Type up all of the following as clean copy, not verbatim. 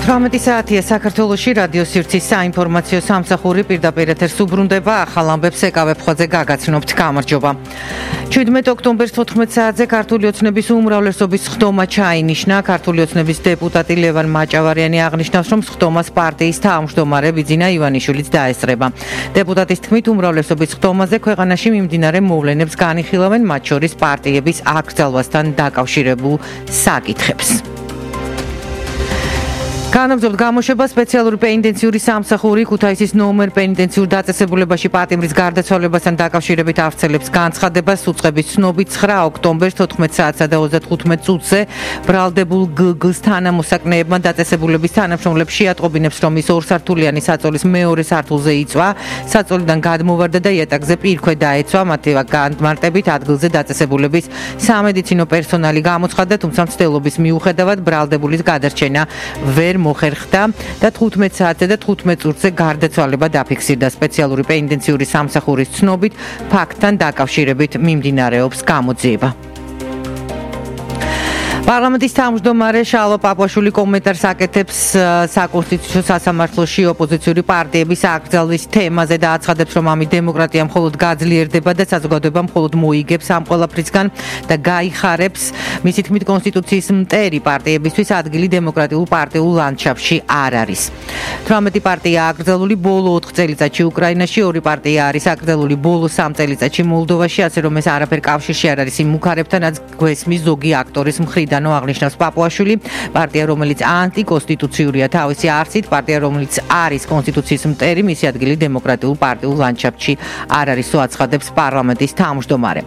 18 საათია საქართველოში რადიო სივრცის საინფორმაციო სამსახური პირდაპირ ეთერს უბრუნდება. ახალ ამბებს ეკავებ ხოძე გაგაცნობთ. გამარჯობა. 17 ოქტომბერს 14 საათზე ქართული ოცნების უმრავლესობის სხდომა ჩაინიშნა. ქართული ოცნების დეპუტატი ლევან მაჭავარიანი აღნიშნავს, რომ სხდომას პარტიის თავმჯდომარე ბიძინა ივანიშვილიც დაესწრება. დეპუტატის თქმით, უმრავლესობის სხდომაზე ქვეყანაში მიმდინარე მოვლენებს განიხილავენ, მათ შორის პარტიების აკრძალვასთან დაკავშირებულ საკითხებს. განაგრძობთ გამოშვება სპეციალური პენიტენციური სამსახური ქუთაისის ნომერ პენიტენციურ დაწესებულებაში პატიმრის გარდაცვალებასთან დაკავშირებით ავრცელებს განცხადებას. უწყების ცნობით 9 ოქტომბერს 14 საათსა და 35 წუთზე ბრალდებულ გგ-ს თანამოსაკნეებმა დაწესებულების თანამშრომლებს შეატყობინებს, რომ ის ორსართულიანი საწოლის მეორე სართულზე იწვა. საწოლიდან გადმოვარდა და იატაკზე პირქვე დაეცვა. მათი განმარტებით ადგილზე დაწესებულების სამედიცინო პერსონალი გამოცხადდა, თუმცა მცდელობის მიუხედავად ბრალდებულის გადარჩენა ვერ მოხერხდა და 15 საათზე და 15 წუთზე გარდაცვალება დაფიქსირდა. სპეციალური პენიტენციური სამსახურის ცნობით ფაქტთან დაკავშირებით მიმდინარეობს გამოძიება. პარლამენტის თავმჯდომარე შალვა პაპუაშვილი კომენტარს აკეთებს საკონსტიტუციო სასამართლოში ოპოზიციური პარტიების აკრძალვის თემაზე და აცხადებს, რომ ამით დემოკრატია მხოლოდ გაძლიერდება და საზოგადოება მხოლოდ მოიგებს ამ ყველაფრისგან და გაიხარებს. მისი თქმით, კონსტიტუციის მტერი პარტიებისთვის ადგილი დემოკრატიულ პარტიულ ლანდშაფტში არ არის. 18 პარტია აკრძალული ბოლო 4 წელიწადში უკრაინაში, 2 პარტია არის აკრძალული ბოლო 3 წელიწადში მოლდოვაში, ასე რომ ეს არაფერ კავშირში არ არის იმ მუქარებთან, რაც გვესმის ზოგი აქტორის მხრიდან. აღნიშნავს პაპუაშვილი, პარტია, რომელიც ანტიკონსტიტუციურია თავისი არსით, პარტია, რომელიც არის კონსტიტუციის მტერი, მისი ადგილი დემოკრატიულ პარტიულ ლანდშაფტში არ არისო, აცხადებს პარლამენტის თავმჯდომარე.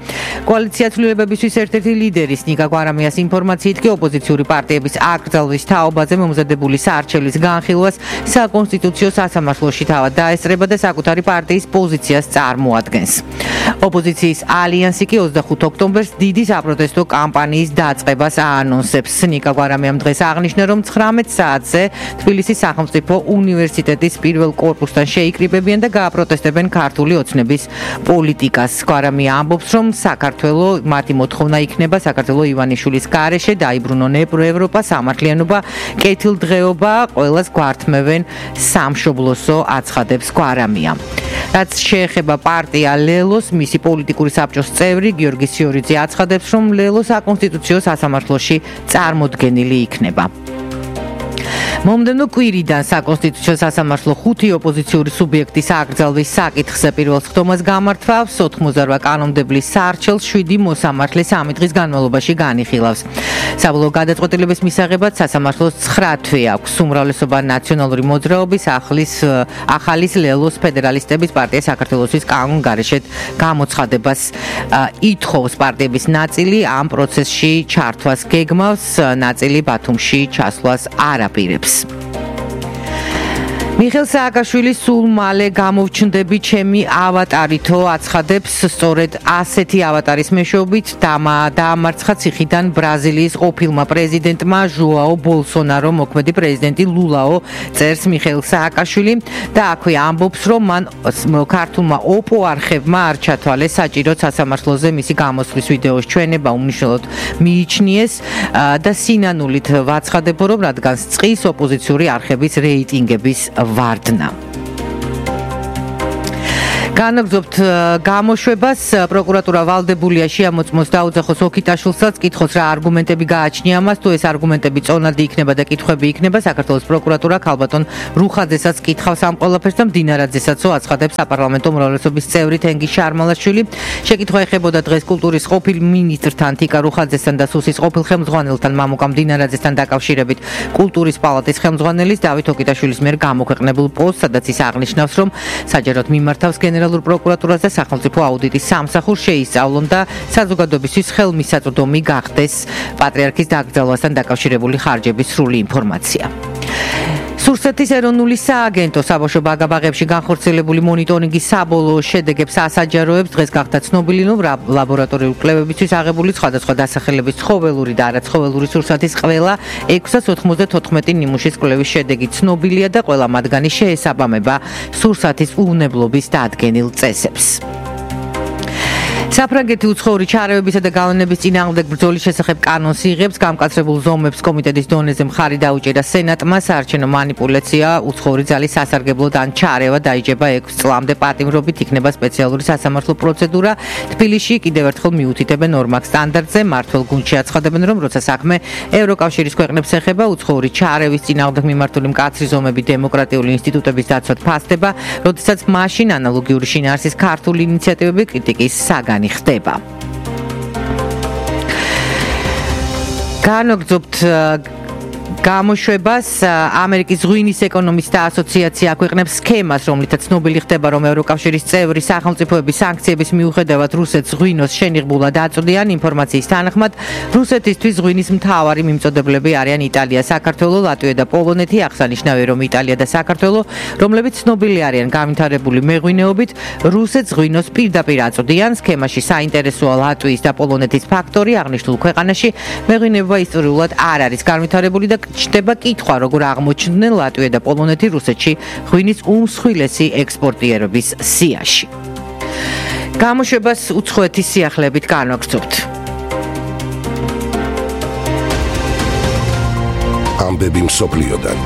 კოალიცია ცვლილებებისთვის ერთ-ერთი ლიდერის ნიკა გვარამიას ინფორმაციით კი ოპოზიციური პარტიების აკრძალვის თაობაზე მომზადებული საარჩევლის განხილვას საკონსტიტუციო სასამართლოში თავად დაესწრება და საკუთარი პარტიის პოზიციას წარმოადგენს. ოპოზიციის ალიანსი კი 25 ოქტომბერს დიდი საპროტესტო კამპანიის დაწყებას ანონსებს. ნიკა გვარამიამ დღეს აღნიშნა, რომ 19 საათზე თბილისის სახელმწიფო უნივერსიტეტის პირველ კორპუსთან შეიკრიბებიან და გააპროტესტებენ ქართული ოცნების პოლიტიკას. გვარამია ამბობს, რომ საქართველო მათი მოთხოვნა იქნება საქართველო ივანიშვილის გარეშე დაიბრუნონ ევროპა, სამართლიანობა, კეთილდღეობა, ყველას გვართმევენ სამშობლოსო, აცხადებს გვარამია. რაც შეეხება პარტია ლელოს, მისი პოლიტიკური საბჭოს წევრი გიორგი სიორიძე აცხადებს, რომ ლელო საკონსტიტუციო სასამართლოში წარმოდგენილი იქნება. მომდევნო კვირიდან საკონსტიტუციო სასამართლო 5 ოპოზიციური სუბიექტის აკრძალვის საკითხზე პირველ სხდომას გამართავს. 88 კანონმდებლის საარჩელს 7 მოსამართლე 3 დღის განმავლობაში განიხილავს. საბოლოო გადაწყვეტილების მისაღებად სასამართლოს 9 თვე აქვს. უმრავლესობა ნაციონალური მოძრაობის ახალის ლელოს ფედერალისტების პარტია საქართველოსის კანონგარეშედ გამოცხადებას ითხოვს. პარტიების ნაწილი ამ პროცესში ჩართვას გეგმავს, ნაწილი ბათუმში ჩასვლას არ აპირებს. მიხეილ სააკაშვილი სულ მალე გამოვჩნდები ჩემი ავატარითო, აცხადებს. სწორედ ასეთი ავატარის მეშვეობით დაამარცხა ციხიდან ბრაზილიის ყოფილმა პრეზიდენტმა ჟოაო ბოლსონარო. მოქმედი პრეზიდენტი ლულაო წერს მიხეილ სააკაშვილი და აქვე ამბობს, რომ მან ქართულმა ოპო არხებმა არ ჩათვალეს საჭიროდ სასამართლოზე მისი გამოსვლის ვიდეოს ჩვენება უმნიშვნელოდ მიიჩნიეს და სინანულით ვაცხადებო, რომ რადგან წყის ოპოზიციური არხების რეიტინგების ვარდნა. განაგრძობთ გამოშვებას. პროკურატურა ვალდებულია შეამოწმოს დაუძახოს ოქიტაშვილსაც, კითხოს რა არგუმენტები გააჩნია მას, თუ ეს არგუმენტები წონადი იქნება და კითხვები იქნება. საქართველოს პროკურატურა ქალბატონ რუხაძესაც კითხავს ამ ყველაფერს და მდინარაძესაც აცხადებს საპარლამენტო უმრავლესობის წევრი თენგიზ შარმალაშვილი. შეკითხვა ეხებოდა დღეს კულტურის ყოფილ მინისტრთან თიკა რუხაძესთან და სუსის ყოფილ ხელმძღვანელთან მამუკა მდინარაძესთან დაკავშირებით კულტურის პალატის ხელმძღვანელის დავით ოქიტაშვილის მიერ გამოქვეყნებულ პოსტს, სადაც ის აღნიშნავს, რომ საჯაროდ მიმართავს გენერალურ პროკურატურას და სახელმწიფო აუდიტის სამსახურს შეისწავლონ და საზოგადოებისთვის ხელმისაწვდომი გახდეს პატრიარქის დაკრძალვასთან დაკავშირებული ხარჯების სრული ინფორმაცია. სურსეთის ეროვნული სააგენტო საბავშვო ბაგაბაღებში განხორციელებული მონიტორინგის საბოლოო შედეგებს ასაჯაროებს. დღეს გახდა ცნობილი, რომ ლაბორატორიული კვლევებისთვის აღებული სხვადასხვა დასახელების ცხოველური და არაცხოველური სურსათის ყველა 694 ნიმუშის კვლევის შედეგი ცნობილია და ყველა მათგანი შეესაბამება სურსათის უვნებლობის დადგენილ წესებს. საფრანგეთი უცხოური ჩარევებისა და გავლენების წინააღმდეგ ბრძოლის შესახებ კანონს იღებს. გამკაცრებულ ზომებს კომიტეტის დონეზე მხარი დაუჭირა სენატმა. საარჩევნო манипуляცია, უცხოური ძალის სასარგებლოდ ან ჩარევა დაიჯება 6 წლამდე პატიმრობით, იქნება სპეციალური სასამართლო პროცედურა. თბილისში კიდევ ერთხელ მიუთითებენ ორმაგ სტანდარტზე. მმართველ გუნდში აცხადებენ, რომ როცა საქმე ევროკავშირის ქვეყნებს ეხება, უცხოური ჩარევის წინააღმდეგ მიმართული მკაცრი ზომები დემოკრატიული ინსტიტუტების დაცვად ფასდება, როდესაც მაშინ ანალოგიური შინაარსის ქართული ინიციატივები კრიტიკის საგანი ხდება. განაგრძობთ გამოშვებას ამერიკის ღვინის ეკონომისტთა ასოციაცია აქვეყნებს სქემას, რომლითაც ცნობილი ხდება, რომ ევროკავშირის წევრი სახელმწიფოების სანქციების მიუხედავად რუსეთს ღვინოს შენიღბულად აწვდიან. ინფორმაციის თანახმად, რუსეთისთვის ღვინის მთავარი მიმწოდებლები არიან იტალია, საქართველო, ლატვია და პოლონეთი. აღსანიშნავია, რომ იტალია და საქართველო, რომლებიც ცნობილი არიან განვითარებული მეღვინეობით, რუსეთს ღვინოს პირდაპირ აწვდიან. სქემაში საინტერესოა ლატვიის და პოლონეთის ფაქტორი. აღნიშნულ ქვეყანაში მეღვინეობა ისტორიულად არ არის განვითარებული და ჩნდება კითხვა, როგორ აღმოჩნდნენ ლატვია და პოლონეთი რუსეთში ღვინის უმსხვილესი ექსპორტიერების სიაში. გამოშვებას უცხოეთის სიახლეებით განვაგრძობთ. ამბები მსოფლიოდან.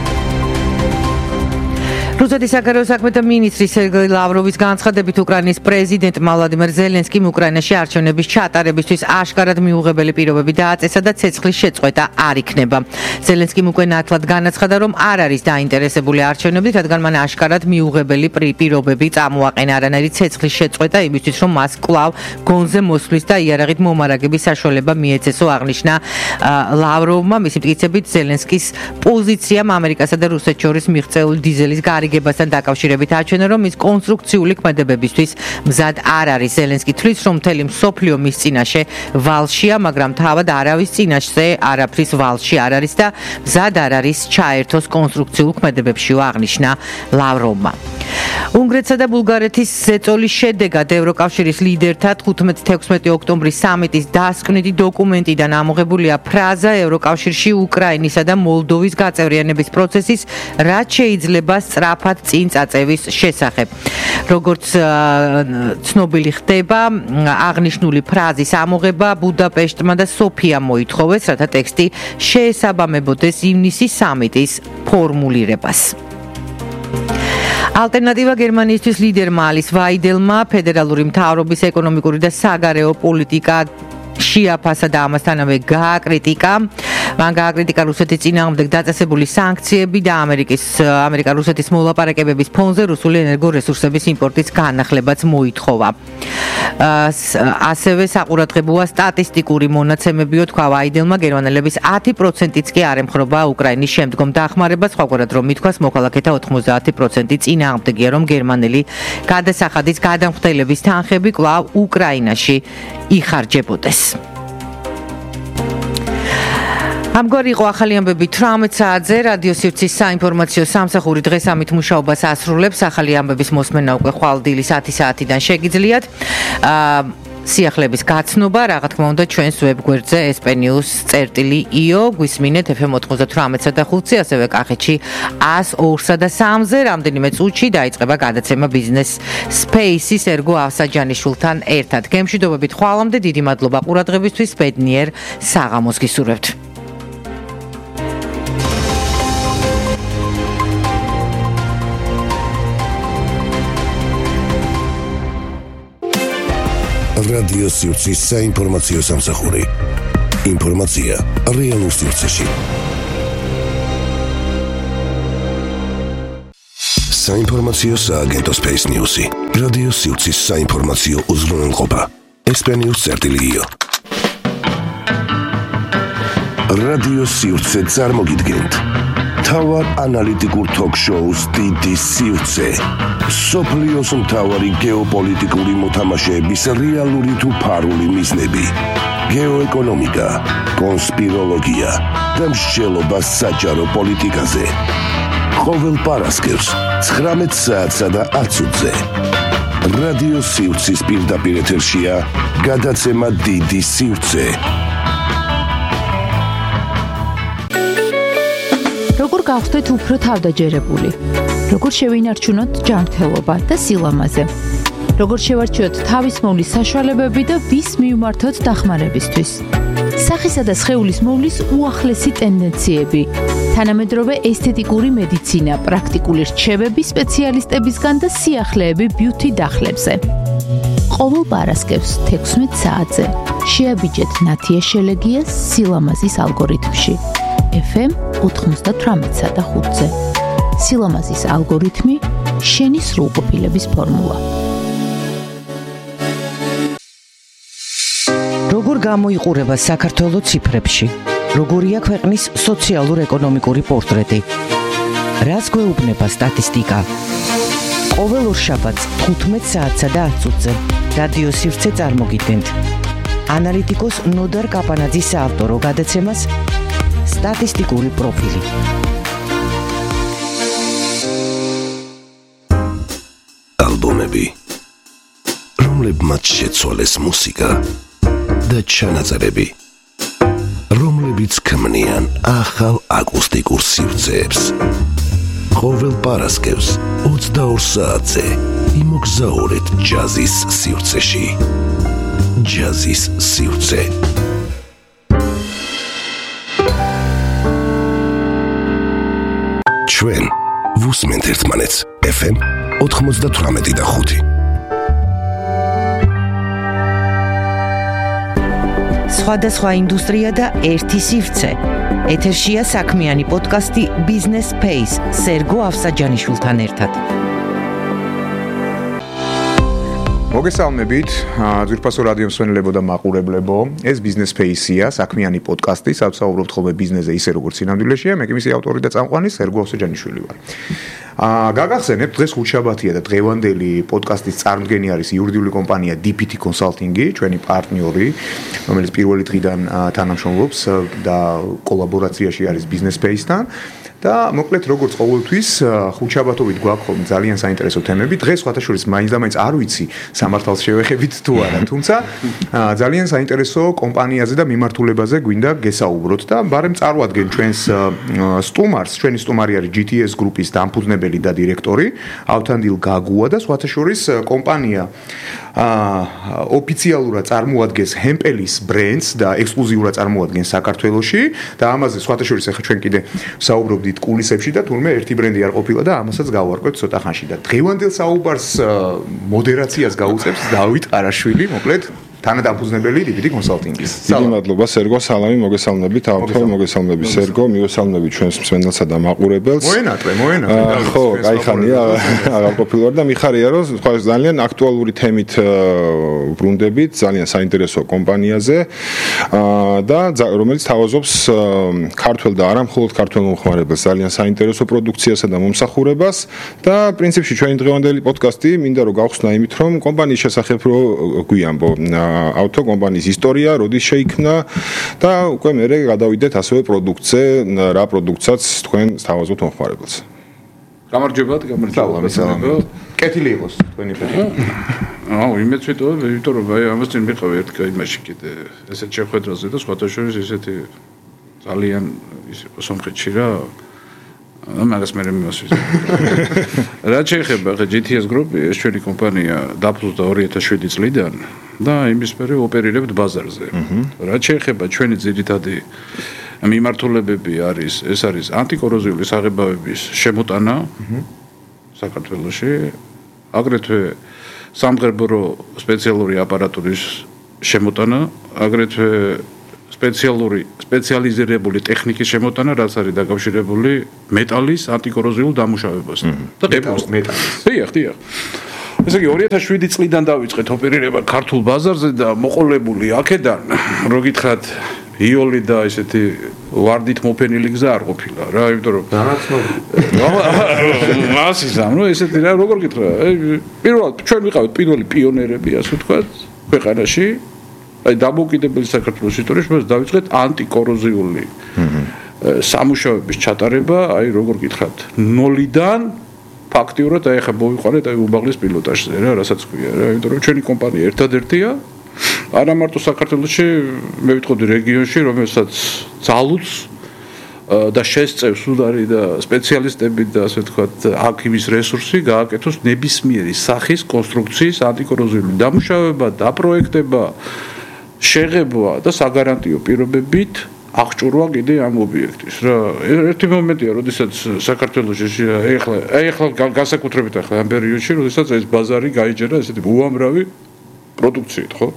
რუსეთის საგარეო საქმეთა მინისტრი სერგეი ლავროვის განცხადებით, უკრაინის პრეზიდენტ ვლადიმერ ზელენსკიმ უკრაინაში არჩევნების ჩატარებისთვის აშკარად მიუღებელი პირობები დააწესა და ცეცხლის შეწყვეტა არ იქნება. ზელენსკიმ უკვე ნათლად განაცხადა, რომ არ არის დაინტერესებული არჩევნებით, რადგან მან აშკარად მიუღებელი პირობები წამოაყენა. არანაირი ცეცხლის შეწყვეტა იმისთვის, რომ მას კვლავ გონზე მოსვლის და იარაღით მომარაგების საშუალება მიეცესო, აღნიშნა ლავროვმა. მისი მტკიცებით, ზელენსკის პოზიციამ ამერიკასა და რუსეთს შორის მიღწეული დიზელის გარიგებასთან დაკავშირებით აჩვენა, რომ ის კონსტრუქციული ქმედებებისთვის მზად არ არის. ზელენსკი თვლის, რომ მთელი მსოფლიო მის წინაშე ვალშია, მაგრამ თავად არავის წინაშე არაფრის ვალში არ არის და მზად არ არის ჩაერთოს კონსტრუქციულ ქმედებებშიო, აღნიშნა ლავროვმა. უნგრეთსა და ბულგარეთის ზეწოლის შედეგად ევროკავშირის ლიდერთა 15-16 ოქტომბრის სამიტის დასკვნითი დოკუმენტიდან ამოღებულია ფრაზა ევროკავშირში უკრაინისა და მოლდოვის გაწევრიანების პროცესის რაც შეიძლება სწრაფად წინ წაწევის შესახებ. როგორც ცნობილი ხდება, აღნიშნული ფრაზის ამოღება ბუდაპეშტმა და სოფიამ მოითხოვეს, რათა ტექსტი შეესაბამებოდეს ივნისის სამიტის ფორმულირებას. ალტერნატივა გერმანიისთვის ლიდერმა ალის ვაიდელმა ფედერალური მთავრობის ეკონომიკური და საგარეო პოლიტიკა შეაფასა და ამასთანავე გააკრიტიკა. მან გააკრიტიკა რუსეთის წინააღმდეგ დაწესებული სანქციები და ამერიკა-რუსეთის მოლაპარაკებების ფონზე რუსული ენერგორესურსების იმპორტის განახლებაც მოითხოვა. ასევე საყურადღებოა სტატისტიკური მონაცემებიო, თქვა ვაიდელმა, გერმანელების 10%-იც კი არ ემხრობა უკრაინის შემდგომ დახმარებას, სხვაგვარად რომ ითქვას, მოქალაქეთა 90% წინააღმდეგია, რომ გერმანელი გადასახადის გადამხდელების თანხები კვლავ უკრაინაში იხარჯებოდეს. ამგვარი იყო ახალი ამბები 18 საათზე. რადიო სივრცის საინფორმაციო სამსახური დღეს ამით მუშაობას ასრულებს. ახალი ამბების მოსმენა უკვე ხვალ-დილის 10 საათიდან შეგიძლიათ. სიახლეების გაცნობა, რა თქმა უნდა, ჩვენს ვებგვერდზე sp-news.io გვისმინეთ FM 98 და 5-ზე, ასევე კახეთში 102 და 3-ზე. რამდენიმე წუთში დაიწყება გადაცემა ბიზნეს სპეისის ერგო ავსაჯანიშვილთან ერთად. გემშვიდობებით ხვალამდე, დიდი მადლობა ყურადღებისთვის, ბედნიერ საღამოს გისურვებთ. რადიო სივრცის საინფორმაციო სამსახური. ინფორმაცია რეალურ სივრცეში. საინფორმაციო სააგენტო Space News-ი. რადიო სივრცის საინფორმაციო უზრუნველყოფა. sp-news.io. რადიო სივრცე წარმოგიდგენთ. თავარ ანალიტიკურ ток-შოუს დიდი სივრცე. სოფლიოს მთავარი გეოპოლიტიკური მოთამაშეების რეალური თუ ფარული მიზნები. გეოეკონომიკა, კონსპიროლოგია და მსჯელობა საჯარო პოლიტიკაზე. ყოველ პარასკევს 19 საათსა და 10 წუთზე. რადიო სივრცის პირდაპირ ეთერშია გადაცემა დიდი სივრცე. როგორ გავხდეთ უფრო თავდაჯერებული? როგორ შევინარჩუნოთ ჯანმრთელობა და სილამაზე? როგორც შევარჩიოთ თავის მოვლის საშუალებები და ვის მივმართოთ დახმარებისთვის. სახისა და სხეულის მოვლის უახლესი ტენდენციები, თანამედროვე ესთეტიკური მედიცინა, პრაქტიკული რჩევები სპეციალისტებისგან და სიახლეები ბიუთი დახლებზე. ყოველ პარასკევს 16 საათზე შეაბიჯეთ ნათია შელეგიას სილამაზის ალგორითმში. FM 98.5-ზე. სილამაზის ალგორითმი, შენი სრულყოფილების ფორმულა. როგორ გამოიყურება საქართველოს ციფრებში? როგორია ქვეყნის სოციალურ-ეკონომიკური პორტრეტი? რას გვეუბნება სტატისტიკა? ყოველ ორშაბათს 15 საათსა და 10 წუთზე რადიო სივრცე წარმოგიდგენთ. ანალიტიკოს ნოდარ კაპანაძის საავტორო გადაცემას სტატისტიკური პროფილი. ალბომები, რომლებმაც შეცვალეს მუსიკა და ჩანაწერები, რომლებიც ქმნიან ახალ აკუსტიკურ სივრცეებს. ყოველ პარასკევს 22 საათზე იმოგზაურეთ ჯაზის სივრცეში. ჯაზის სივრცე. ჩვენ ვუსმენთ ერთმანეთს FM 98.5. სხვადასხვა ინდუსტრია და ერთი სივრცე. ეთერშია საქმიანი პოდკასტი Business Space სერგო ავსაჯანიშვილთან ერთად. მოგესალმებით, ძვირფასო რადიო მსმენელებო და მაყურებლებო. ეს Business Space-ია, საქმიანი პოდკასტი, საუბრობთ ხოლმე ბიზნესზე ისე როგორც სინამდვილეშია. მე კი მისი ავტორი და წამყვანი სერგო ავსაჯანიშვილი ვარ. გაგახსენებთ, დღეს ხუთშაბათია და დღევანდელი პოდკასტის წარმოდგენი არის იურიდიული კომპანია DPT Consulting-ი, ჩვენი პარტნიორი, რომელიც პირველი დღიდან თანამშრომლობს და კოლაბორაციაში არის Business Space-თან. და მოკლედ როგორც ყოველთვის ხუთშაბათობით გვაქვს ხოლმე ძალიან საინტერესო თემები. დღეს სხვათა შორის მაინც და მაინც არ ვიცი სამართალს შევეხებით თუ არა, თუმცა ძალიან საინტერესო კომპანიაზე და მიმართულებაზე გვინდა გესაუბროთ და ბარემ წარვადგენ ჩვენს სტუმარს. ჩვენი სტუმარი არის GTS გრუპის დამფუძნებელი და დირექტორი ავთანდილ გაგუა და სხვათა შორის კომპანია ოფიციალურად წარმოადგენს ჰემპელის ბრენდს და ექსკლუზიურად წარმოადგენს საქართველოში და ამაზე სხვათა შორის ახლა ჩვენ კიდე საუბრობდით კულისებში და თურმე ერთი ბრენდი არ ყოფილა და ამასაც გავარკვევთ ცოტა ხანში და დღევანდელ საუბარს მოდერაციას გაუწევს დავით ყარაშვილი, მოკლედ თანადამფუძნებელი DPT Consulting-ის. დიდი მადლობა სერგო, სალამი, მოგესალმებით ავთო, მოგესალმებით სერგო, მივესალმებით ჩვენს მსმენელსა და მაყურებელს. მოენატრე. ხო, კაი ხანია, აღარ ყოფილვარ და მიხარია რომ ძალიან აქტუალური თემით ბრუნდებით, ძალიან საინტერესო კომპანიაზე და რომელიც თავაზობს ქართველ და არა მხოლოდ ქართველ მომხმარებელს ძალიან საინტერესო პროდუქციასა და მომსახურებას და პრინციპში ჩვენი დღევანდელი პოდკასტი მინდა რომ გავხსნა იმით რომ კომპანიის შესახებ რო გვიამბო ავტო კომპანიის ისტორია, როდის შეიქმნა და უკვე მერე გადავიდეთ ასევე პროდუქტზე, რა პროდუქტსაც თქვენ თავაზობთ მომხმარებელს. გამარჯობა. კეთილი იყოს თქვენი ფერი. იმეც ვიტყოდ, იმიტომ რომ აი ამას წინ მიყავი ერთ იმაში კიდე ესეთ შეხვედრაზე და სხვათა შორის ესეთი ძალიან ის იყო სომხეთში რა მაგას მე მიმოსვით. რაც შეეხება GTS გრუპი, ეს ჩვენი კომპანია დაფუძნდა 2007 წლიდან და იმის მერე ოპერირებთ ბაზარზე. რაც შეეხება ჩვენი ძირითადი მიმართულებები ეს არის ანტიკოროზიული საღებავების შემოტანა საქართველოში, აგრეთვე სამღერბორო სპეციალური აპარატურის შემოტანა, აგრეთვე სპეციალიზირებული ტექნიკის შემოტანა, რაც არის დაკავშირებული მეტალის ანტიკოროზიულ დამუშავებასთან. და მეტალის. დიახ. ესე იგი 2007 წლიდან დავიწყეთ ოპერირება ქართულ ბაზარზე და მოყოლებული აქედან, რო გითხრათ, იოლი და ესეთი ვარდით მოფენილი გზა არ ყოფილა რა, იმიტომ რომ მასისამ, ნუ ესეთი რა, როგორ გითხრა, პირველად ჩვენ ვიყავით პირველი პიონერები, ასე ვთქვათ, ქვეყანაში. აი დამოუკიდებელი საქართველოს ისტორიაში მას დავიწყეთ ანტიკოროზიული სამუშაოების ჩატარება, აი როგორ გითხრათ, ნოლიდან ფაქტიურად აი ხა მოვიყვანეთ აი უბაღლის პილოტაჟზე რა, რასაც ქვია რა, იმიტომ რომ ჩვენი კომპანია ერთადერთია არა მარტო საქართველოში, მე ვიტყოდი რეგიონში, რომელსაც ძალუც და შესწევს უდარი და სპეციალისტები და ასე ვთქვათ, აქ იმის რესურსი გააკეთოს ნებისმიერი სახის კონსტრუქციის ანტიკოროზიული დამუშავება, დაპროექტება, შეღებვა და საგარანტიო პირობებით აღჭურვა კიდე ამ ობიექტის. რა ერთი მომენტია, როდესაც საქართველოში ეხლა განსაკუთრებით ახლა ამ პერიოდში, როდესაც ეს ბაზარი გაიჯერა ესეთი უამრავი პროდუქციით, ხო?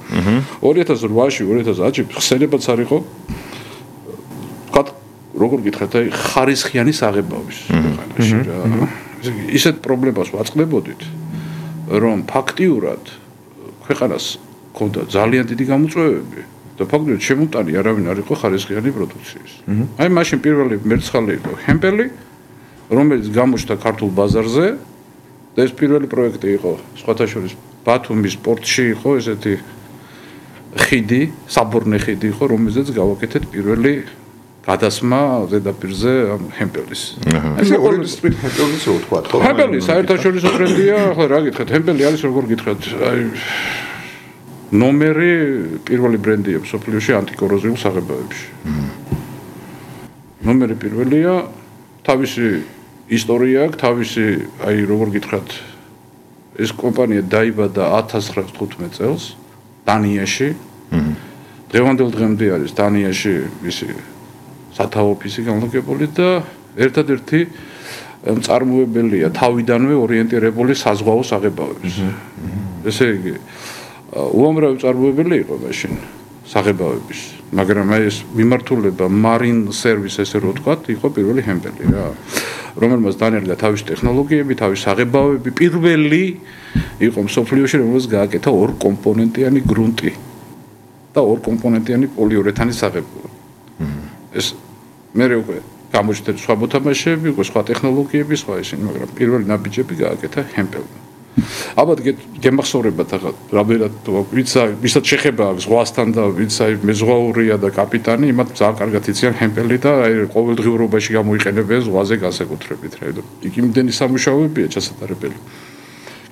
2008-ში, 2010-ში ხსენებაც არ იყო. ვთქვათ, როგორ გითხრათ, აი ხარისხიანი საღებავის ქვეყანაში რა. ისეთ პრობლემას ვაწყდებოდით, რომ ფაქტიურად ქვეყანას ქონდა ძალიან დიდი გამოწვევები და ფაქტობრივად შემოტანი არავინ არ იყო ხარისხიანი პროდუქციის. აი მაშინ პირველი მერცხალი იყო ჰემპელი, რომელიც გამოჩნდა ქართულ ბაზარზე და ეს პირველი პროექტი იყო სხვათა შორის ბათუმის პორტში იყო ესეთი ხიდი, საბორნე ხიდი იყო, რომელზეც გავაკეთეთ პირველი გადასმა ზედაპირზე ჰემპელის. ესე ორი სტრიტ ჰემპელის რო თქვა, ხო? ჰემპელი საერთაშორისო ბრენდია, ახლა რა გითხრათ, ჰემპელი არის როგორ გითხრათ, აი ნომერი პირველი ბრენდია მსოფლიოში ანტიკოროზიულ საღებავებში. ნომერი პირველია, თავისი ისტორია აქვს, თავისი აი როგორ გითხრათ, ეს კომპანია დაიბადა 1915 წელს დანიაში. დღევანდელ დღემდე არის დანიაში ისი სათავო ოფისი განლაგებული და ერთადერთი მწარმოებელია თავიდანვე ორიენტირებული საზღვაო საღებავების. ესე იგი უამრავი მწარმოებელი იყო მაშინ საღებავების, მაგრამ აი ეს მიმართულება მარინ სერვის ესე რო ვთქვათ, იყო პირველი ჰემპელი რა, რომელმაც დანერგა თავისი ტექნოლოგიები, თავისი საღებავები, პირველი იყო მსოფლიოში, რომელსაც გააკეთა ორკომპონენტიანი გრუნტი და ორკომპონენტიანი პოლიურეთანის საღებავი. ეს მერე უკვე გამოჩნდა სხვა მოთამაშეები, უკვე სხვა ტექნოლოგიები, სხვა ისინი, მაგრამ პირველი ნაბიჯები გააკეთა ჰემპელმა. ალბათ გემახსოვრებათ ახლა რამერად ვისაც შეხება აქვს ზღვასთან და ვინც აი მეზღვაურია და კაპიტანი, იმათ ძალიან კარგად იციან ჰემპელი და აი ყოველდღიურობაში გამოიყენებენ ზღვაზე განსაკუთრებით რა. იქ იმდენი სამუშაოებია ჩასატარებელი.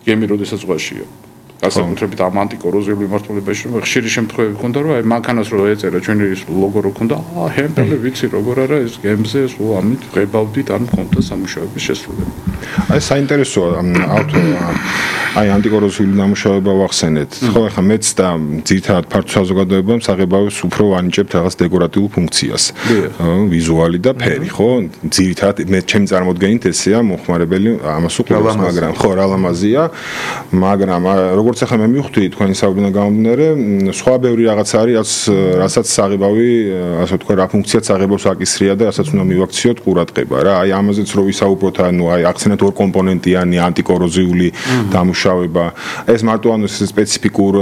გემი როდესაც ზღვაშია. განსაკუთრებით ამ ანტიკოროზიული მიმართულებაში რომ ხშირი შემთხვევები ქონდა რომ აი მანქანას რო ეწერა ჩვენი ლოგო რო ქონდა ჰემპელი ვიცი როგორ არა ეს გემზე სულ ამით ღებავდით ან ქონდა სამუშაოების შესრულება. აი საინტერესოა აი ანტიკოროზიული დამუშავება ვახსენეთ. ხო ახლა მეც და ძირითადად ფართო საზოგადოებამ საღებავებს უფრო ვანიჭებთ რაღაც დეკორატიულ ფუნქციას. ვიზუალი და ფერი, ხო? ძირითადად მე ჩემი წარმოდგენით ესეა მოხმარებელი ამას უყურებს, მაგრამ ხო რა ლამაზია, მაგრამ როგორც ახლა მე მივხვდი თქვენი საუბრიდან გამომდინარე, სხვა ბევრი რაღაც არის, რასაც საღებავი, ასე ვთქვა, რა ფუნქციაც საღებავს აკისრია და რასაც უნდა მივაქციოთ ყურადღება რა. აი ამაზეც რო ვისაუბროთ, ანუ აი აქცენტ ორ კომპონენტიანი ანტიკოროზიული დამუშავება. ეს მარტო ანუ სპეციფიკურ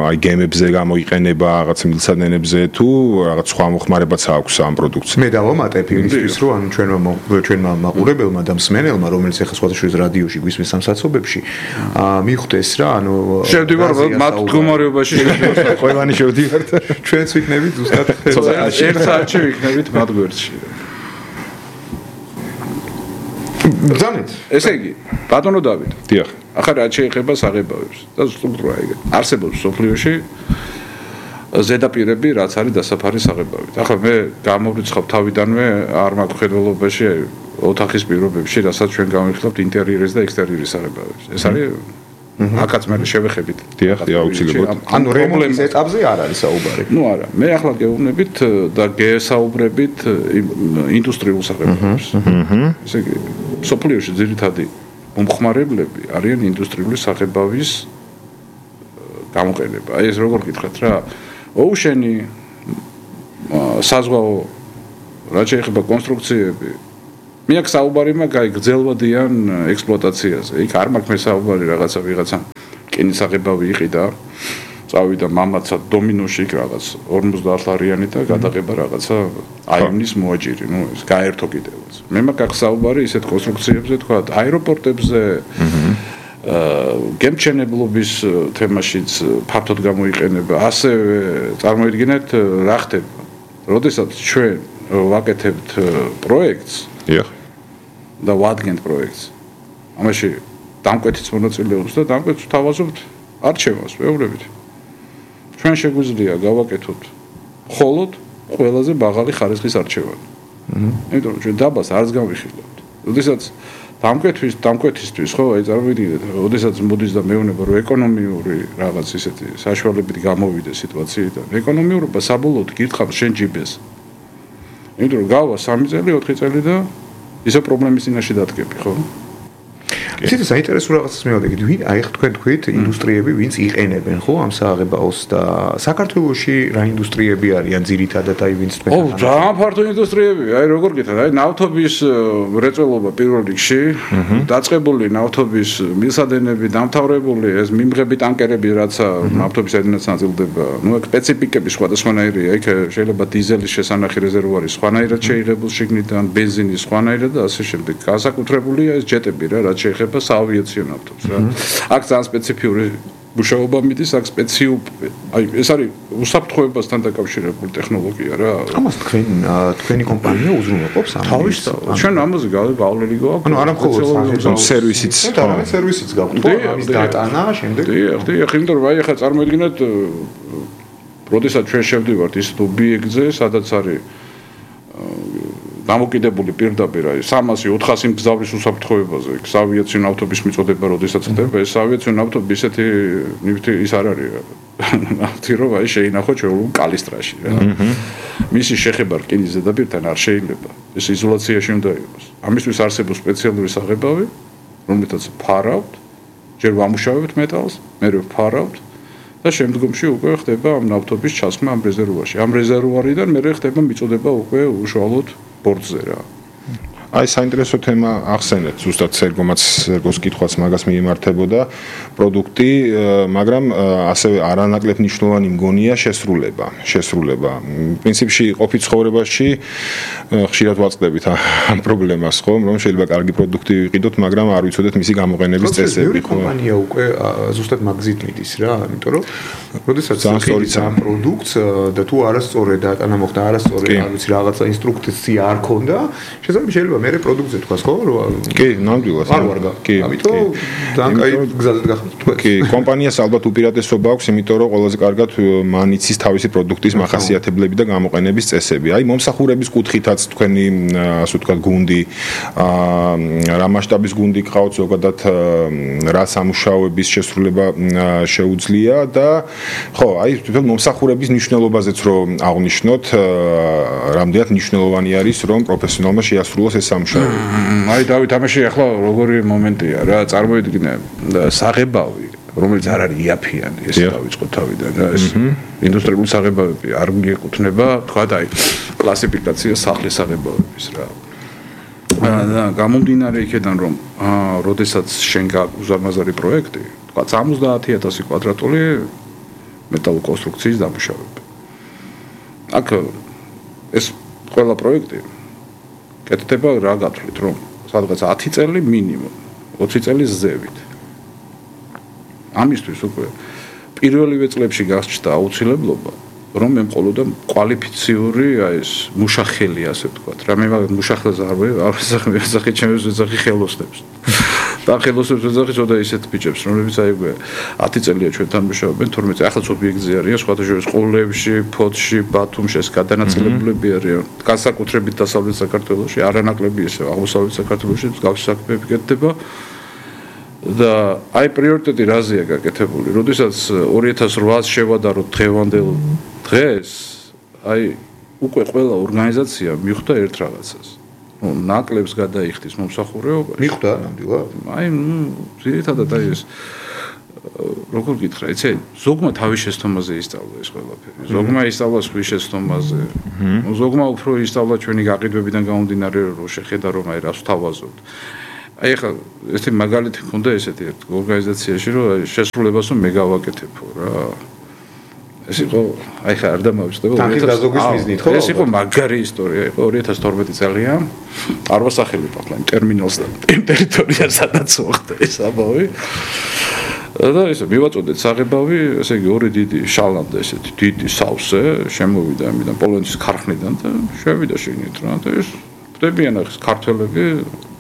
აი გემებზე გამოიყენება, რაღაც მილსადენებზე თუ რაღაც სხვა მოხმარებაც აქვს ამ პროდუქციას. მე დავამატებ იმისთვის, რომ ანუ ჩვენმა მაყურებელმა და მსმენელმა, რომელიც ახლა სხვათა შორის რადიოში გვისმენს სამსაცობებში, მიხვდეს რა, ანუ შევდივარ მათ მდგომარეობაში შევდივარ, ყველანი შევდივართ. ჩვენც ვიქნებით ზუსტად ერთ საათში ვიქნებით მათ გვერდში. ძალიან. ესე იგი, ბატონო დავით. დიახ. ახლა რა შეეხება საღებავებს და სტრუქტურა ეგ. არსებობს სოფლიოში ზედაპირები, რაც არის დასაფარი საღებავით. ახლა მე გამოვრიცხავ თავიდანვე არ მაქვს ხედველობაში ოთახის პირობებში, რასაც ჩვენ გამოვიხსნებთ ინტერიერის და ექსტერიერის საღებავებს. ეს არის აკაც მე შევეხებით. დიახ, აუცილებლად. ანუ რემონტის ეტაპზე არ არის საუბარი. ნუ არა, მე ახლა გეუბნებით და გესაუბრებით ინდუსტრიულ საღებავებს. ესე იგი, სოფლიოში ძირითადი მომხმარებლები არიან ინდუსტრიული საღებავის გამოყენება. აი ეს როგორ გითხრათ რა, ოუშენი საზღვაო რა შეიძლება კონსტრუქციები მე აქ საუბარი მაქვს აი გრძელვადიან ექსპლუატაციაზე. იქ არ მაქვს მე საუბარი ვიღაცა კენის საღებავი იყიდა, წავიდა მამაცა დომინოში იქ რაღაც 50 ლარიანი და გადაღება რაღაცა აივნის მოაჯირი, ნუ ეს გაერთო კიდევაც. მე მაქვს აქ საუბარი ისეთ კონსტრუქციებზე, თქვა აეროპორტებზე, გემჩენებლობის თემაშიც ფართოდ გამოიყენება. ასევე წარმოიდგინეთ რა ხდება, როდესაც ჩვენ ვაკეთებთ პროექტს, და ვადგენთ პროექტს. ამაში დამკვეთიც მონაწილეობს და დამკვეთს თავაზობთ არჩევას, ვეუბნებით. ჩვენ შეგვიძლია გავაკეთოთ მხოლოდ ყველაზე მაღალი ხარისხის არჩევანი. იმიტომ რომ ჩვენ დაბას არც გავიხილავთ. როდესაც დამკვეთისთვის ხო, აი წარმოვიდგინეთ, როდესაც მოდის და მეუბნება რომ ეკონომიური რაღაც ისეთი საშუალებები გამოვიდეს სიტუაციიდან. ეკონომიურობა საბოლოოდ გირთხავს შენ ჯიბეს. იმიტომ რომ გავა 3 წელი, 4 წელი და ისე პრობლემის წინაშე დადგები, ხო? ისეთი საინტერესო რაღაცას მივადგეთ, აი თქვენ თქვით ინდუსტრიები, ვინც იყენებენ ხო ამ საღებაოს და საქართველოში რა ინდუსტრიები არიან ძირითადად აი ვინც თქვენ ხო, ძალიან ფართო ინდუსტრიებია, აი როგორ გითხრათ, აი ნავთობის მრეწველობა პირველ რიგში, დაწყებული ნავთობის მილსადენები, დამთავრებული ეს მიმღები ტანკერები, რაც ნავთობის საიდანაც ნაწილდება, ნუ ეგ სპეციფიკები სხვადასხვანაირია, იქ შეიძლება დიზელის შესანახი რეზერვუარი სხვანაირად შეიღებულ შიგნიდან, ბენზინის სხვანაირად და ასე შემდეგ. განსაკუთრებულია ეს ჯეტები რა, რაც შეეხება საავიაციო ნავთობს რა. აქ ძალიან სპეციფიური მუშაობა მიდის, აქ აი ეს არის უსაფრთხოებასთან დაკავშირებული ტექნოლოგია რა. ამას თქვენი კომპანია უზრუნველყოფს ამას. თავისთავად. ჩვენ ამაზე გავლილი გვაქვს. ანუ არა მხოლოდ სერვისიც, არამედ სერვისიც გაქვთ ხო? ამის დატანა შემდეგ. დიახ, იმიტომ რომ აი ახლა წარმოიდგინეთ, როდესაც ჩვენ შევდივართ ის ობიექტზე, სადაც არის დამოკიდებული პირდაპირ აი 300-400 მგზავრის უსაფრთხოებაზე, იქ ავიაციო ნავთობის მიწოდება, როდესაც ხდება, ეს ავიაციო ნავთობი ისეთი ნივთი ის არ არის. ნავთი რომ აი შეინახო ჩვეულებრივ კალისტრაში რა. მისი შეხება რკინის ზედაპირთან არ შეიძლება. ეს იზოლაციაში უნდა იყოს. ამისთვის არსებობს სპეციალური საღებავი, რომელთაც ფარავთ, ჯერ ვამუშავებთ მეტალს, მერე ვფარავთ და შემდგომში უკვე ხდება ამ ნავთობის ჩასხმა ამ რეზერვუარში. ამ რეზერვუარიდან მერე ხდება მიწოდება უკვე უშუალოდ ბორტზე რა. აი საინტერესო თემა ახსენეთ, ზუსტად სერგოს კითხვაც მაგას მიემართებოდა პროდუქტი, მაგრამ ასევე არანაკლებ მნიშვნელოვანი მგონია შესრულება. პრინციპში ყოფით ცხოვრებაში ხშირად ვაწყდებით ამ პრობლემას, ხო, რომ შეიძლება კარგი პროდუქტი ვიყიდოთ, მაგრამ არ ვიცოდეთ მისი გამოყენების წესები. კომპანია უკვე ზუსტად მაგზით მიდის რა, იმიტომ რომ როდესაც ამ პროდუქტს და თუ არასწორად დატანა მოხდა, არასწორად, არ ვიცი, რაღაცა ინსტრუქცია არ ქონდა, შეიძლება მერე პროდუქტზე თქვას ხო? კი, ნამდვილად. კი. ამიტომ ძალიან კაი გზაზე გახდით თქვენ. კი, კომპანიას ალბათ უპირატესობა აქვს, იმიტომ რომ ყველაზე კარგად მან იცის თავისი პროდუქტის მახასიათებლები და გამოყენების წესები. აი მომსახურების კუთხითაც თქვენი ასე ვთქვათ გუნდი, რა მასშტაბის გუნდი გყავთ ზოგადად, რა სამუშაოების შესრულება შეუძლია და ხო, აი თვითონ მომსახურების მნიშვნელობაზეც რომ აღნიშნოთ, რამდენად მნიშვნელოვანი არის რომ პროფესიონალმა შეასრულოს ეს სამუშაოები. აი დავით, ამაში ახლა როგორი მომენტია რა, წარმოიდგინე საღებავი, რომელიც არ არის იაფიანი, ეს დავიწყოთ თავიდან რა, ეს ინდუსტრიული საღებავები არ მიეკუთვნება, თქვა აი კლასიფიკაცია სახლის საღებავების რა. და გამომდინარე იქიდან რომ როდესაც შენ გაქვს უზარმაზარი პროექტი, თქვა 70,000 კვადრატული მეტალოკონსტრუქციის დამუშავება. აქ ეს ყველა პროექტი კეთდება რა გათვლით, რომ სადღაც 10 წელი მინიმუმ, 20 წელი ზევით. ამისთვის უკვე პირველივე წლებში გასჭდა აუცილებლობა, რომ ემყოლოდა კვალიფიციური ეს მუშახელი, ასე ვთქვათ. რა მე მაგ მუშახელს არ ვეძახი ჩემს ვეძახი ხელოსნებს. და ხელოსნებს ვეძახი ცოტა ისეთ ბიჭებს, რომლებიც აი უკვე 10 წელია ჩვენთან მუშაობენ, 12 წელი ახალ ობიექტზე არიან, სხვადასხვა სკოლებში, ფოთში, ბათუმში ეს გადანაწილებულები არიან. განსაკუთრებით დასავლეთ საქართველოში, არანაკლები ესე აღმოსავლეთ საქართველოში მსგავსი საქმეები კეთდება. და აი პრიორიტეტი რაზეა გაკეთებული? როდესაც 2008-ს შევადაროთ დღევანდელ დღეს, აი უკვე ყველა ორგანიზაცია მიხვდა ერთ რაღაცას. ნუ ნაკლებს გადაიხდის მომსახურეობაში. მიხვდა ნამდვილად. აი, ძირითადად აი ეს როგორ გითხრა, იცი, ზოგმა თავის შეცდომაზე ისწავლა ეს ყველაფერი. ზოგმა ისწავლა სხვის შეცდომაზე. ზოგმა უფრო ისწავლა ჩვენი გაყიდვებიდან გამომდინარე, რომ შეხედა რომ აი რას ვთავაზობთ. აი ახლა ესეთი მაგალითი მქონდა ესეთი ერთ ორგანიზაციაში, რომ შესრულებას მე გავაკეთებო რა. ეს იყო აი ხა არ დამავიწყდება 2000 ხო? ეს იყო მაგარი ისტორია, იყო 2012 წელია. არ ვასახელებ ახლა იმ ტერმინალს და იმ ტერიტორიას სადაც მოხდა ეს ამბავი. და ესე მივაწოდეთ საღებავი, ესე იგი ორი დიდი შალანდა ესეთი დიდი სავსე შემოვიდა ამიდან პოლონეთის ქარხნიდან და შევიდა შეგნით რა და ეს ხდებიან ახლა ქართველები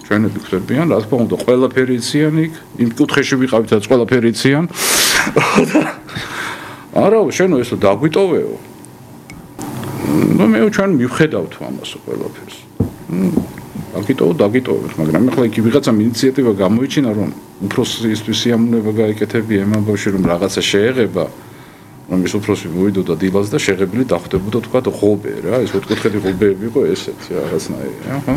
ჩვენები ხდებიან, რა თქმა უნდა, ყველაფერი იციან იქ, იმ კუთხეში ვიყავითაც ყველაფერი იციან. არა, შენო ესო დაგვიტოვეო. ნუ მე ჩვენ მივხედავთ ამასო ყველაფერს. დაგიტოვებთ, მაგრამ ახლა იქ ვიღაცამ ინიციატივა გამოიჩინა, რომ უფროსისთვის სიამოვნება გაეკეთებია ემამ ბავშვი, რომ რაღაცა შეეღება, რომ ის უფროსი მოვიდოდა დილას და შეღებილი დახვდებოდა თქვა ღობე რა, ეს ოთხკუთხედი ღობეები იყო ესეთი რაღაცნაირი, ხო?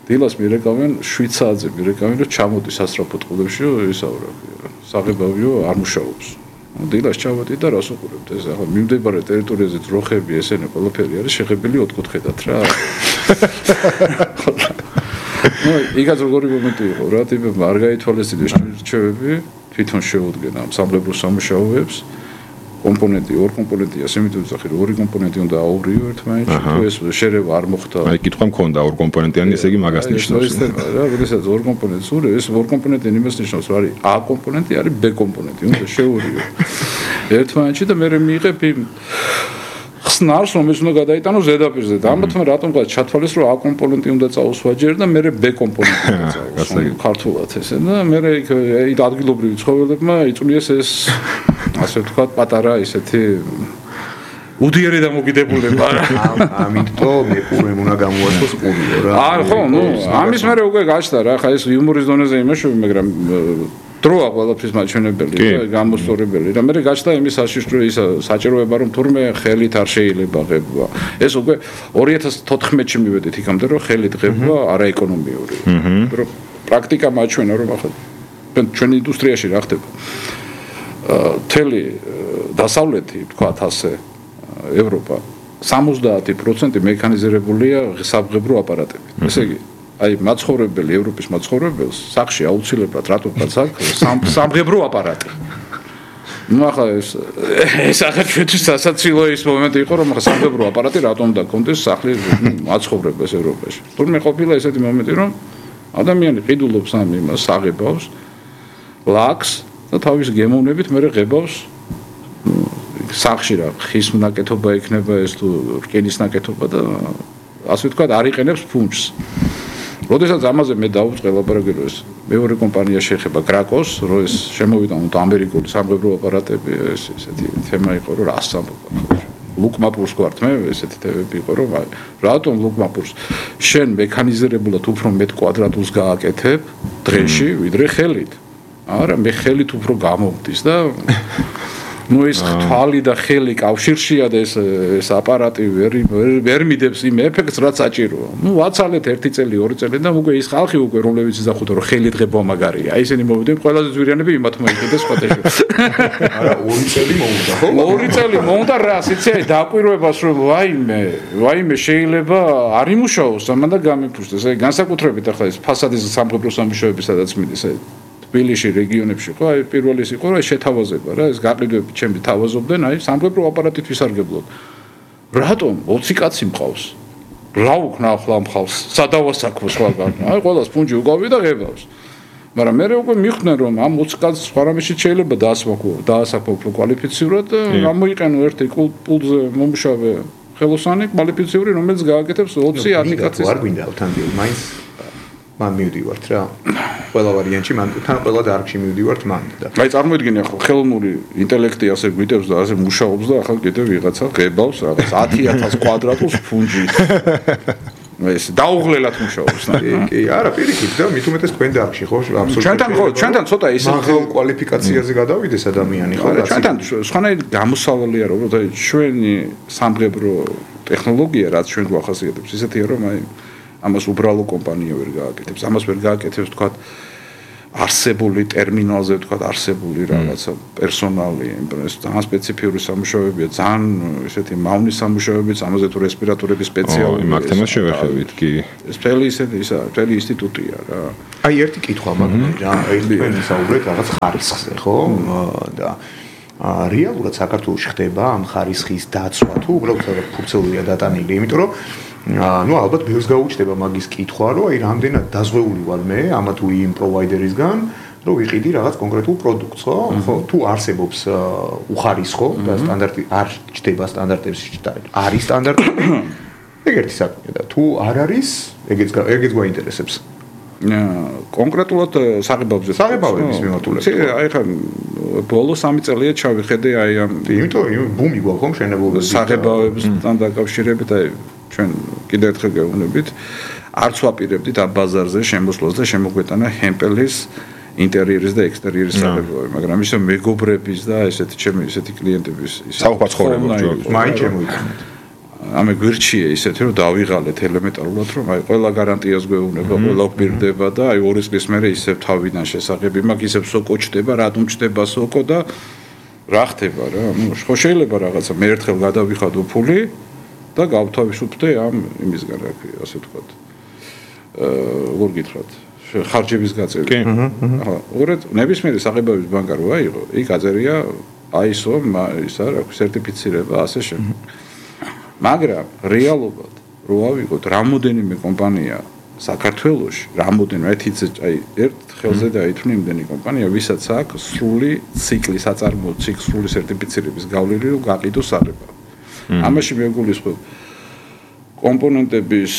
დილას მირეკავენ 7 საათზე მირეკავენ, რომ ჩამოდის სასწრაფო წყლებში, ისაუბრებია. საღებავიო არ მუშაობს. დილას ჩავედი და რას უყურებთ ეს ახლა მიმდებარე ტერიტორიაზე ძროხები ესენი ყველაფერი არის შეღებილი ოთხკუთხედად რა. იგაც როგორი მომენტი იყო რა, ტიპებმა არ გაითვალისწინეს რჩევები, თვითონ შეუდგენა სამხედრო სამუშაოებს. კომპონენტი, ორ კომპონენტია, სიმიტოვის სახე, ორი კომპონენტი უნდა აურიო ერთმანეთში, თუ ეს შერევა არ მოხდა. აი, კითხვა მქონდა ორ კომპონენტიანი, ესე იგი მაგას ნიშნავს. რა, როდესაც ორ კომპონენტს ურე, ეს ორ კომპონენტი იმას ნიშნავს, რომ არის A კომპონენტი, არის B კომპონენტი, უნდა შეურიო. ერთმანეთში და მე მიიღებ იმ ხსნარს, რომელიც უნდა გადაიტანო ზედაპირზე. და ამათ მე რატომღაც ჩათვალეს, რომ A კომპონენტი უნდა წაუსვა ჯერ და მე B კომპონენტი უნდა წაუსვა. ქართულად ესე და მე იქ ადგილობრივი ცხოველებმა იწვლიეს ეს ასე ვთქვათ, პატარა ისეთი უდიერი დამოკიდებულება რა. ამიტომ მეყურემ უნდა გამოაცხოს ყურიო რა. ხო, ამის მერე უკვე გაჩნდა რა, ხა ეს იუმორის დონეზე იმაშოვე, მაგრამ დროა ყველაფრის მაჩვენებელი და გამოსწორებელი. და მერე გაჩნდა იმის ის საჭიროება, რომ თურმე ხელით არ შეიძლება ღება. ეს უკვე 2014-ში მივედით იქამდე, რომ ხელით ღება არაეკონომიური. რომ პრაქტიკა მაჩვენა, რომ ახლა ჩვენი ინდუსტრიაში რა ხდება. თელი დასავლეთი, თქვათ ასე, ევროპა 70% მექანიზირებულია სამღებრო აპარატებით. ესე იგი, აი მაცხოვრებელი ევროპის მაცხოვრებელს სახში აუცილებლად რატომღაც აქვს სამღებრო აპარატი. ну ახლა ეს ახლა ჩვენთვის სასაცილო ის მომენტი იყო, რომ ახლა სამღებრო აპარატი რატომ უნდა კონდეს სახლის მაცხოვრებელს ევროპაში. თურმე ყოფილა ესეთი მომენტი, რომ ადამიანი ყიდულობს ამ იმას საღებავს, ლაქს და თავის გემოვნებით მე ღებავს სახში რა ხის ნაკეთობა იქნება ეს თუ რკინის ნაკეთობა და ასე ვთქვათ არ იყენებს ფუნჯს. როდესაც ამაზე მე დავუწყე ლაპარაკი ეს მეორე კომპანია შეეხება კრაკოს, რომ ეს შემოვიდა ამერიკული სამღებრო აპარატები, ესეთი თემა იყო, რომ რას ამბობ. ლუკმაპურს გვართ მე ესეთი თემები იყო, რომ რატომ ლუკმაპურს შენ მექანიზირებულად უფრო მეტ კვადრატულს გააკეთებ დღეში, ვიდრე ხელით. არა, მე ხელით უფრო გამომდის და ну ეს თვალი და ხელი კავშირშია და ეს აპარატი ვერ მიდებს იმ ეფექტს რაც საჭიროა. ну ვაცალეთ 1 წელი, 2 წელი და უკვე ის ხალხი უკვე რომლებიც იზახუდა რომ ხელი დღება მაგარია. აი ესენი მოვიდნენ ყველაზე ძვირიანები იმათ მოიხდეს სხვადასხვა. არა 2 წელი მოუდა ხო? 2 წელი მოუდა რა, სიცი დაკვირვებას რომ ვაიმე შეიძლება არ იმუშაოს ამან და გამიფუშდეს. აი განსაკუთრებით ახლა ეს ფასადის სამღებრო სამუშაოები სადაც მიდის აი თბილისში რეგიონებში ხო აი პირველი ის იყო რა შეთავაზება რა ეს გაყიდვები ჩემი თავაზობდნენ აი სამღებრო აპარატით ვისარგებლოთ რატომ 20 კაცი მყავს რა უკნა ახლა მყავს სადავასაქმო სხვაგან აი ყველას ფუნჯი უკავი და ღებავს მაგრამ მე უკვე მიხვდნენ რომ ამ 20 კაცს სხვა რამეში შეიძლება დაასაქმო კვალიფიცირად და გამოიყენო ერთი პულზე მომუშავე ხელოსანი კვალიფიციური რომელიც გააკეთებს 20 კაცის არ გვინდა თან მაინც მან მივდივართ რა ყველა ვარიანტში მან თან ყველა დარგში მივდივართ მან და აი წარმოიდგინე ახლა ხელოვნური ინტელექტი ასე გვიტევს და ასე მუშაობს და ახლა კიდევ ვიღაცა ღებავს რაღაც 10000 კვადრატულს ფუნჯით ეს დაუღლელად მუშაობს კი არა პირიქით და მით უმეტეს თქვენ დარგში ხო აბსოლუტურად ჩვენთან ცოტა ისე კვალიფიკაციაზე გადავიდეს ადამიანი ხო ჩვენთან სხვანაირ გამოსავალია რომ ჩვენი სამღებრო ტექნოლოგია რაც ჩვენ გვახასიათებს ისეთია რომ აი ამას უბრალო კომპანია ვერ გააკეთებს. ამას ვერ გააკეთებს თქვა არსებული ტერმინალზე თქვა არსებული რაღაცა პერსონალი, ეს ძალიან სპეციფიური სამუშაოებია, ძალიან ესეთი მავნი სამუშაოებიც, ამაზე თუ რესპირატორების სპეციალური იმ თემას შევეხებით კი. ეს მთელი მთელი ინსტიტუტია რა. აი ერთი კითხვა მაგარი რა, თქვენ ისაუბრეთ რაღაც ხარისხზე, ხო? და რეალურად საქართველოში ხდება ამ ხარისხის დაცვა თუ უბრალოდ ფურცელია დატანილი, იმიტომ რომ ну ალბათ ბევრს გაუჩნდება მაგის კითხვა რომ აი რამდენად დაზღვეული ვარ მე ამა თუ იმ პროვაიდერისგან რომ ვიყიდი რაღაც კონკრეტულ პროდუქტს ხო თუ არსებობს უხარისხო და სტანდარტი არ ჩდება სტანდარტებში არის სტანდარტები ეგეთი საქმეა და თუ არ არის ეგეც გვაინტერესებს კონკრეტულად საღებავების მიმართულებით აი ხა ბოლო 3 წელია ჩავიხედე აი ამ იმიტომ ბუმი გვაქვს ხომ შენებულობის საღებავებთან დაკავშირებით აი ჩვენ კიდევ ერთხელ გეუბნებით, არც ვაპირებდით ამ ბაზარზე შემოსვლას და შემოგვეტანა ჰემპელის ინტერიერის და ექსტერიერის საღებავები, მაგრამ ისე მეგობრების და ესეთი კლიენტების საუბარს ხორებობ მაინც შემოიტანეთ. ამე გვირჩია ისეთი რომ დავიღალეთ ელემენტარულად რომ აი ყველა გარანტიას გვეუბნება, ყველა გვირდება და აი 2 წლის მერე ისევ თავიდან შესაძლებელი მაქვს ისევ სოკო ჩდება, რატომ ჩდება სოკო და რა ხდება რა? ხო შეიძლება რაღაცა მე ერთხელ გადავიხადო ფული და გავთავისუფლდე ამ იმისგან რა ქვია, ასე ვთქვათ. როგორ გითხრათ? ხარჯების გაწევი. ახლა უყურეთ, ნებისმიერი საღებავის ბანკა რო აიღო, იქ აწერია ISO ისა რა ქვია, სერტიფიცირება ასე შემდეგ. მაგრამ რეალურად რო ავიღოთ რამოდენიმე კომპანია საქართველოში, რამოდენიმე აი ერთ ხელზე დაითვლი იმდენი კომპანია, ვისაც აქვს სრული ციკლი საწარმოო სრული სერტიფიცირების გავლილი რომ გაყიდოს საღებავი. ამაში მე გულისხმობ კომპონენტების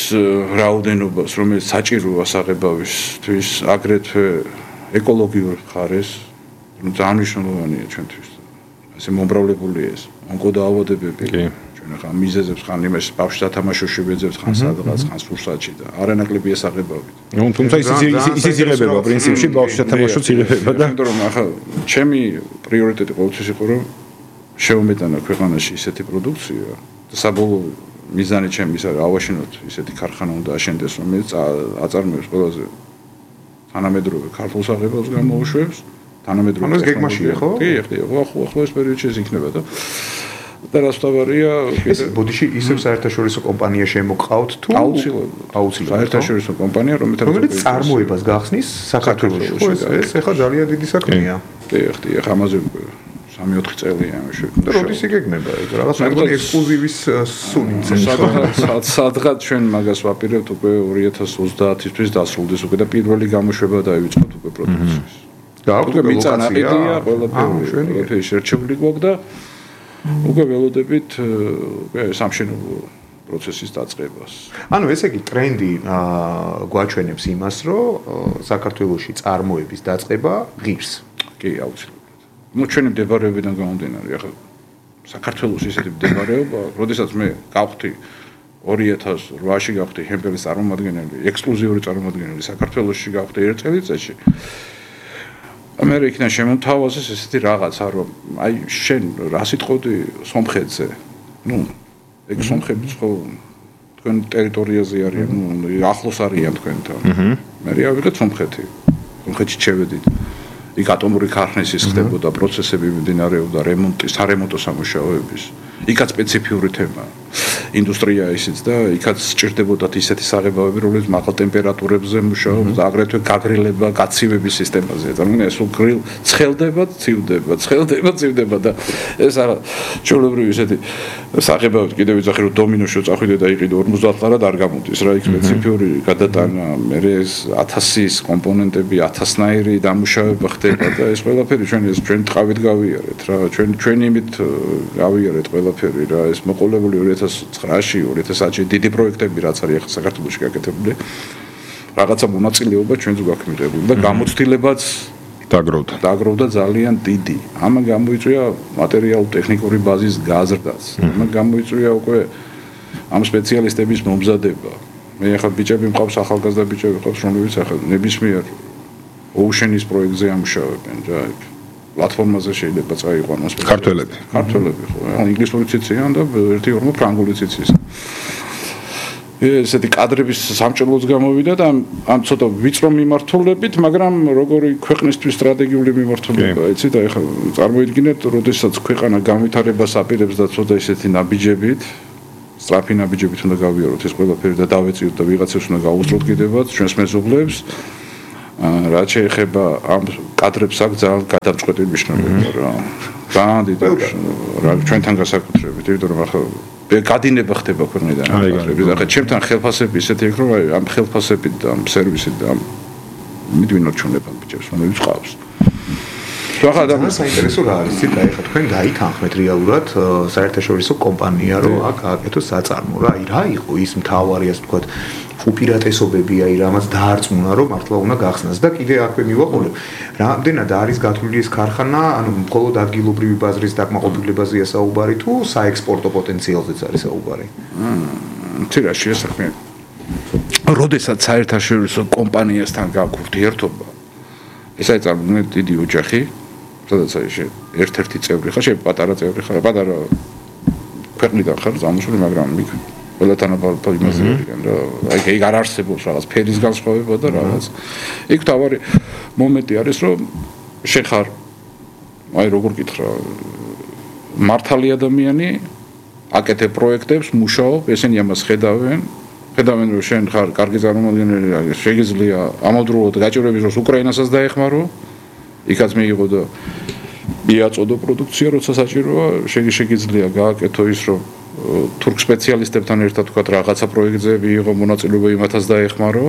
რაოდენობას, რომელიც საჭიროა საღებავისთვის, აგრეთვე ეკოლოგიურ მხარეს, ძალიან მნიშვნელოვანია ჩვენთვის. ასე მომრავლებული ეს ონკოდაავადებები. ახლა მიზეზებს ხან იმას ბავშვს დათამაშოში ვეძებს ხან სადღაც ხან სურსათში და არანაკლები ესაღებავით. ნუ თუმცა ის იზრდება პრინციპში ბავშვს დათამაშოც იღებება და იმიტომ რომ ახლა ჩემი პრიორიტეტი ყოველთვის იყო რომ შევმეტანა ქვეყანაში ისეთი პროდუქცია და საბოლოო მიზანი ჩემი ის არის ავაშენოთ ისეთი ქარხანა უნდა აშენდეს რომელიც აწარმოებს ყველაზე თანამედროვე ქართულ საღებავს გამოუშვებს თანამედროვე ანუ ეს გეგმაშია ხო? კი, ხო ეს პერიოდში ეს იქნება და რას თავარია ეს ბოდიში ისევ საერთაშორისო კომპანია შემოყავთ თუ აუცილებლად საერთაშორისო კომპანია რომელიც წარმოებას გახსნის საქართველოში ხო ეს ახლა ძალიან დიდი საქმეა კი ახლა ამაზე 3-4 წელია და როდის იგეგმება ეგ რაღაც მეგონი ექსკლუზივის სუნიცენ სადღაც ჩვენ მაგას ვაპირებთ უკვე 2030-ისთვის დასრულდეს უკვე და პირველი გამოშვება დაივიწყოთ უკვე პროდუქციის გააქვთ ლოკაცია ყველაფერი შერჩეული გვაქვს და უკვე ველოდებით სამშენებლო პროცესის დაწყებას. ანუ ესე იგი ტრენდი გვაჩვენებს იმას, რომ საქართველოში წარმოების დაწყება ღირს. კი, აუცილებლად. ნუ ჩვენი მდებარეობიდან გამომდინარე, ახლა საქართველოში ისეთი მდებარეობა, როდესაც მე გავხდი 2008-ში გავხდი ჰემპელის წარმომადგენელი, ექსკლუზიური წარმომადგენელი საქართველოში გავხდი ერთ წელიწადში. ამერიკიდან შემოთავაზეს ესეთი რაღაცა რომ აი შენ რა სიტყვოდი სომხეთზე ნუ ეგ სომხებიც ხო თქვენ ტერიტორიაზე არიან ნუ ახლოს არიან თქვენთან მე ავიღეთ სომხეთში შევედით იქ ატომური ქარხნების ხდებოდა პროცესები მიმდინარეობდა სარემონტო სამუშაოების იქაც სპეციფიური თემაა ინდუსტრია ისიც და იქაც სჭირდებოდათ ისეთი საღებავები, რომელიც მაღალ ტემპერატურებზე მუშაობს და აგრეთვე გაგრილება, გაცივების სისტემაზე. წარმოიდგინე, ეს უგრილ ცხელდება, ცივდება და ეს არა ჩვეულებრივი ისეთი საღებავები კიდევ ვიძახი რომ დომინოში წახვიდე და იყიდე 50 ლარად არ გამოდის რა, იქ სპეციფიური გადატანა, მე ეს 1000-ის კომპონენტები, 1000-ნაირი დამუშავება ხდება და ეს ყველაფერი ჩვენ ტყავით გავიარეთ რა, ჩვენ იმით გავიარეთ ყველაფერი რა, ეს მოყოლებული 2009-ში 2010-ში დიდი პროექტები რაც არის ახლა საქართველოში გაკეთებული რაღაცა მონაწილეობა ჩვენც გვაქვს მიღებული და გამოცდილებაც დაგროვდა ძალიან დიდი. ამან გამოიწვია მატერიალურ-ტექნიკური ბაზის გაზრდაც. ამან გამოიწვია უკვე ამ სპეციალისტების მომზადება. მე ახლა ბიჭები მყავს ახალგაზრდა ბიჭები მყავს რომლებიც ახლა ნებისმიერ ოუშენის პროექტზე ამუშავებენ რა პლატფორმაზე შეიძლება წაიყვანოს ქართველები ხო ინგლისური ციციან და 1-2 ფრანგული ციცის ესეთი კადრების სამჭრელოც გამოვიდა და ამ ცოტა ვიწრო მიმართულებით მაგრამ როგორი ქვეყნისთვის სტრატეგიული მიმართულება იცით აი ხა წარმოიდგინეთ როდესაც ქვეყანა განვითარებას აპირებს და ცოტა ისეთი ნაბიჯებით სწრაფი ნაბიჯებით უნდა გავიაროთ ეს ყველაფერი და დავეწიოთ და ვიღაცებს უნდა გაუსწროთ კიდევაც ჩვენს მეზობლებს რაც შეეხება ამ კადრებს აქვს ძალიან გადამწყვეტი მნიშვნელობა რა. ძალიან დიდი რა ჩვენთან გასაკუთრებით, იმიტომ რომ ახლა გადინება ხდება ქვეყნიდან კადრების. ახლა ჩემთან ხელფასები ისეთი იქ რომ ამ ხელფასებით და ამ სერვისით და მიდვინორჩუნება ბიჭებს, რომელიც ყავს. ძალიან საინტერესო რა არის, ცით აი ხა თქვენ დაითანხმეთ რეალურად საერთაშორისო კომპანია რომ აქ გააკეთოს საწარმო რა, აი რა იყო ის მთავარი ასე ვთქვათ უპირატესობები აი რამაც დაარწმუნა რომ მართლა უნდა გახსნას და კიდე აქვე მივაყოლებ რამდენად არის გათვლილი ეს ქარხანა ანუ მხოლოდ ადგილობრივი ბაზრის დაკმაყოფილებაზეა საუბარი თუ საექსპორტო პოტენციალზეც არის საუბარი ცირაში ეს საქმე. როდესაც საერთაშორისო კომპანიასთან გაქვს ურთიერთობა, ეს არის წარმოიდგინეთ დიდი ოჯახი, სადაც არის ერთ-ერთი წევრი ხარ, შეიძლება პატარა წევრი ხარ, პატარა ქვეყნიდან ხარ ზამთრული, მაგრამ იქ ყველათან ალბათ იმაზე ვიგან რა, აი არ არსებობს რაღაც ფერის განსხვავება და რაღაც. იქ თავარი მომენტი არის, რომ შენ ხარ აი როგორ გითხრა, მართალი ადამიანი, აკეთებ პროექტებს, მუშაობ, ესენი ამას ხედავენ, რომ შენ ხარ კარგი წარმომადგენელი, შეგიძლია ამავდროულად გაჭირვების დროს უკრაინასაც დაეხმარო, იქაც მიიღო და მიაწოდო პროდუქცია, როცა საჭიროა, შეგიძლია გააკეთო ის, რომ თურქ სპეციალისტებთან ერთად თქვა რაღაცა პროექტზე მიიღო მონაწილეობა, იმათაც დაეხმარო,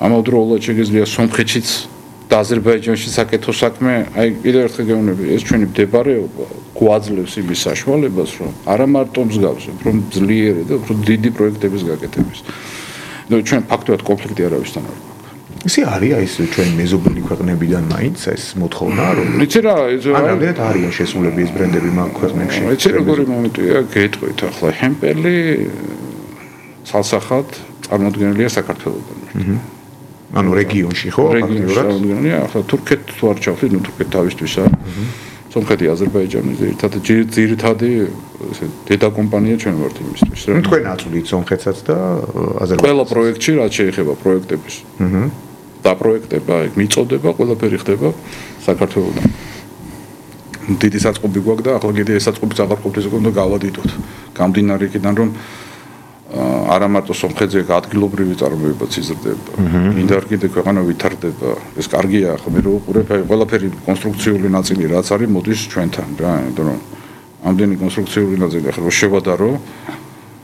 ამავდროულად შეგიძლია სომხეთშიც და აზერბაიჯანში საკეთო საქმე, აი კიდევ ერთხელ გეუბნები, ეს ჩვენი მდებარეობა გვაძლევს იმის საშუალებას, რომ არა მარტო მსგავს, რომ ძლიერი და უფრო დიდი პროექტების გაკეთების. და ჩვენ ფაქტობრივად კონფლიქტი არავისთან არ გვაქვს. ისე არის ეს ჩვენი მეზობელი ქვეყნებიდან მაინც ეს მოთხოვნა, რომ იცი რა, რამდენად არიან შესულები ეს ბრენდები მაგ ქვეყნებში? იცი როგორი მომენტია, გეტყვით ახლა ჰემპელი ცალსახად წარმოდგენილია საქართველოსთან. ანუ რეგიონში ხო ფაქტობრივად ახლა თურქეთს თუ არ ჩავთვლით, ნუ თურქეთი თავისთვისა. სომხეთი, აზერბაიჯანი ძირითადი ესე დედა კომპანია ჩვენ ვართ იმისთვის. ნუ თქვენ აწვდით სომხეთსაც და აზერბაიჯანს. ყველა პროექტში რაც შეეხება პროექტების. დაპროექტება, მიწოდება, ყველაფერი ხდება საქართველოსთან. დიდი საწყობი გვაქვს და ახლა კიდე ეს საწყობი აღარ უნდა გავადიდოთ. გამდინარე იქიდან რომ არა მარტო სომხეთზე ადგილობრივი წარმოებაც იზრდება. მინდა კიდე ქვეყანა ვითარდება. ეს კარგია, ხო მე რო უყურებ, აი ყველაფერი კონსტრუქციული ნაწილი რაც არის მოდის ჩვენთან რა, იმიტომ რომ ამდენი კონსტრუქციული ნაწილი ახლა რო შევადარო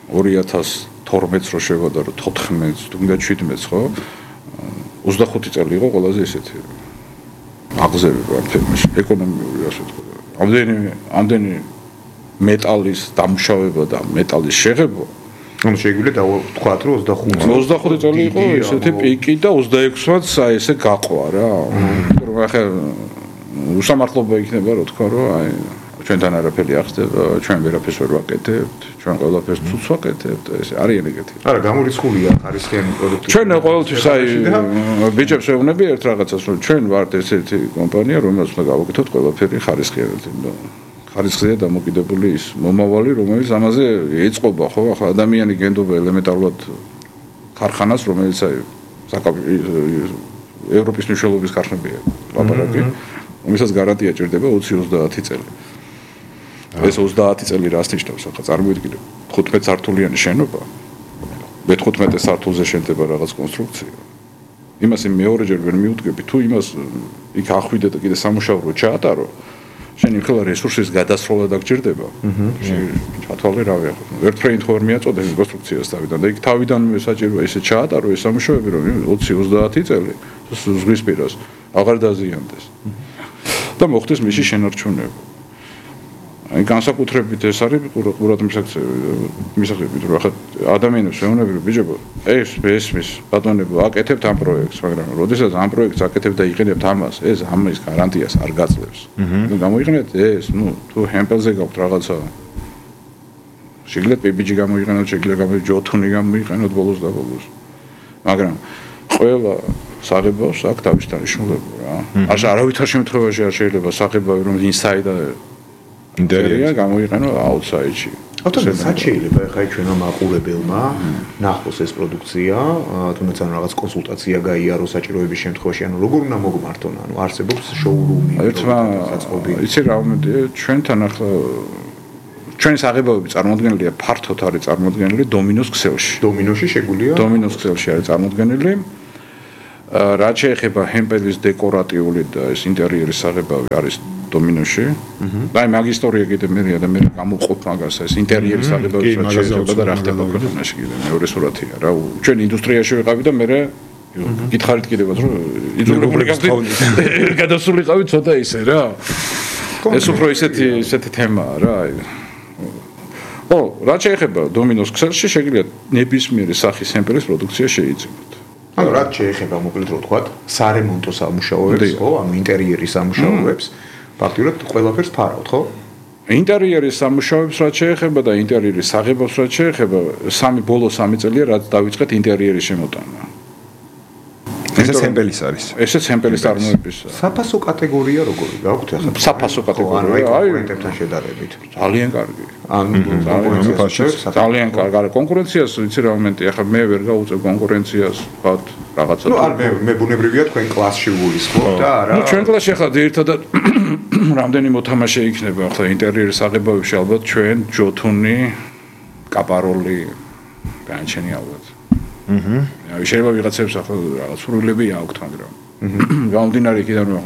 2012-ს რო შევადარო 14-ს, თუნდაც 17-ს, ხო? 25 წელი იყო ყველაზე ესეთი აღზევება ამ თემაში, ეკონომიური ასე ვთქვა. ამდენი მეტალის დამუშავება და მეტალის შეღება ანუ შეგვიძლია დავთქვათ რომ 25 წელი იყო ესეთი პიკი და 26-ს აი ესე გაყვა რა. რომ ახლა უსამართლობა იქნება რა თქვა რომ აი ჩვენთან არაფერი ახსდება, ჩვენ ვერაფერს ვერ ვაკეთებთ, ჩვენ ყველაფერს ცუც ვაკეთებთ, ეს არიან ეგეთი. არა, გამორიცხულია ხარისხიანი პროდუქტი. ჩვენ ყოველთვის აი ბიჭებს ვეუბნები ერთ რაღაცას, რომ ჩვენ ვართ ესეთი კომპანია, რომელსაც უნდა გავაკეთოთ ყველაფერი ხარისხიანად. ხარისხია დამოკიდებული ის მომავალი, რომელიც ამაზე ეწყობა, ხო? ახლა ადამიანი გენდობა ელემენტარულად ქარხანას, რომელიც აი ევროპის მნიშვნელობის ქარხნებია, ლაპარაკი, რომელსაც გარანტია ჭირდება 20-30 წელი. ეს 30 წელი რას ნიშნავს? ახლა წარმოიდგინე 15 სართულიანი შენობა. მე-15 სართულზე შენდება რაღაც კონსტრუქცია. იმას მეორეჯერ ვერ მიუდგები, თუ იმას იქ ახვიდე და კიდე სამუშაო ჩაატარო, შენ იმხელა რესურსის გადასროლა დაგჭირდება. ჩათვალე რავი ახლა. ერთ ფრეინდ ხوار მიაწოდე კონსტრუქციას თავიდან და იქ თავიდან საჭიროა ისე ჩაატარო ეს სამუშაოები, რომ 20-30 წელი ზღვის პირას აღარ დაზიანდეს. და მოხდეს მისი შენარჩუნება. აი განსაკუთრებით ეს არის ყურად მისაღები, რომ ახლა ადამიანებს ეუბნები, რომ ბიჭებო, ესმის ბატონებო, აკეთებთ ამ პროექტს, მაგრამ როდესაც ამ პროექტს აკეთებთ და იყენებთ ამას, ეს ამის გარანტიას არ გაძლევს. ნუ გამოიყენეთ ეს, ნუ თუ ჰემპელზე გაქვთ რაღაცა შეგიძლიათ პიბიჯი გამოიყენოთ, შეგიძლიათ ჯოთუნი გამოიყენოთ ბოლოს და ბოლოს. მაგრამ ყველა საღებავს აქვს თავის დანიშნულება რა. არავითარ შემთხვევაში არ შეიძლება საღებავი რომ ინსაიდ ინტერიერია გამოიყენო აუთსაიდში. ავტომატურად სად შეიძლება ხა ჩვენმა მაყურებელმა ნახოს ეს პროდუქცია, თუნდაც ან რაღაც კონსულტაცია გაიაროს საჭიროების შემთხვევაში, ანუ როგორ უნდა მოგმართონ, ანუ არსებობს შოურუმი, საწყობი. იცი რა მომენტია, ჩვენთან ახლა ჩვენი საღებავები წარმოადგენელია ფართოდ არის წარმოადგენელი დომინოს ქსელში. დომინოში შეგვიძლია? დომინოს ქსელში არის წარმოადგენელი. რაც შეეხება ჰემპელის დეკორატიული და ეს ინტერიერის საღებავი არის დომინოში. და აი მაგ ისტორია კიდე მერია და მე გამოვყოფ მაგას ეს ინტერიერის საღებავი რაც შეეხება და რა ხდება ქვეყანაში კიდე მეორე სურათია რა. ჩვენ ინდუსტრიაში ვიყავი და მე გითხარით კიდევაც რომ იძულებული გადასულიყავი ცოტა ისე რა. ეს უფრო ისეთი თემაა რა. ო, რაც შეეხება დომინოს ქსელში შეგიძლიათ ნებისმიერი სახის ჰემპელის პროდუქცია შეიძინოთ. ანუ რაც შეეხება მოკლედ რო ვთქვათ, სარემონტო სამუშაოებს, ხო, ანუ ინტერიერის სამუშაოებს, ფაქტობრივად ყველაფერს ფარავთ, ხო? ინტერიერის სამუშაოებს რაც შეეხება და ინტერიერის საღებავს რაც შეეხება, ბოლო 3 წელია რაც დავიწყეთ ინტერიერის შემოტანა. ეს სემპელის არის. ეს სემპელის წარმოების. საფასო კატეგორია როგორი გაქვთ ახლა? საფასო კატეგორია, აი კონკურენტებთან შედარებით. ძალიან კარგი. ანუ ძალიან კარგი. კონკურენციას ვიცი რა მომენტი, ახლა მე ვერ გავუწევ კონკურენციას, ვთქვათ, რაღაცა. ნუ არ მე ბუნებრივია თქვენ კლასში ვულისხმობ და არა. ნუ ჩვენ კლასში ახლა ერთადად რამდენი მოთამაშე იქნება ახლა ინტერიერის აღებავებში ალბათ ჩვენ ჯოთუნი, კაპაროლი, განჩენი ალბათ. შეიძლება ვიღაცებს ახლა რაღაც სრულები აქვთ, მაგრამ გამომდინარე იქიდან რომ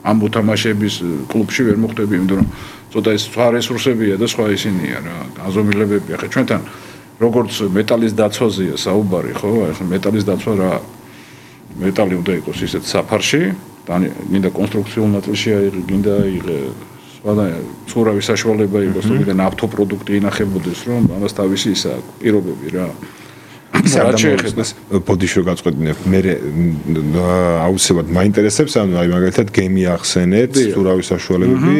ამ მოთამაშეების კლუბში ვერ მოხვდები, იმიტომ რომ ცოტა ეს სხვა რესურსებია და სხვა ისინია რა, გაზომილებები. ახლა ჩვენთან როგორც მეტალის დაცვაზეა საუბარი, ხო? ახლა მეტალის დაცვა რა მეტალი უნდა იყოს ისეთ საფარში, მინდა კონსტრუქციულ ნაწილში გინდა სხვა ცურავის საშუალება იყოს, თუმცა ნავთობპროდუქტი ინახებოდეს, რომ ამას თავისი ისა პირობები რა. ის არ შეიძლება ბოდიში რო გაწყვეტინებ მე აუცილებლად მაინტერესებს ანუ აი მაგალითად გემი ახსენეთ ცურავის საშუალებები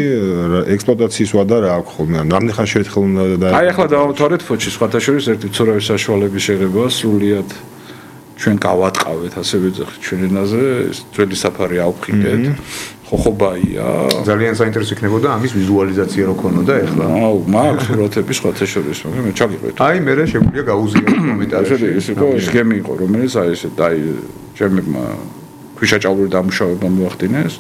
ექსპლუატაციის ვადა რა აქვს ხოლმე ანუ რამდენი ხანში ერთხელ უნდა და აი ახლა დავამთავრეთ ფოჩი სხვათა შორის ერთი ცურავის საშუალების შეღება სრულიად ჩვენ გავატყავეთ ასე ვეძახით ჩვენ ენაზე ძველი საფარი ავხიდეთ ხოხობაია ძალიან საინტერესო იქნებოდა ამის ვიზუალიზაცია რო ქონოდა ეხლა აუ მაქვს სურათები სხვათა შორის მაგრამ მე ჩაგიყვეთ აი მე შეგვიძლია გაუზიაროთ კომენტარებში ეს იყო ის გემი იყო რომელიც აი ესე დაი ჩემებმა ქვიშაჭავლური დამუშავება მოახდინეს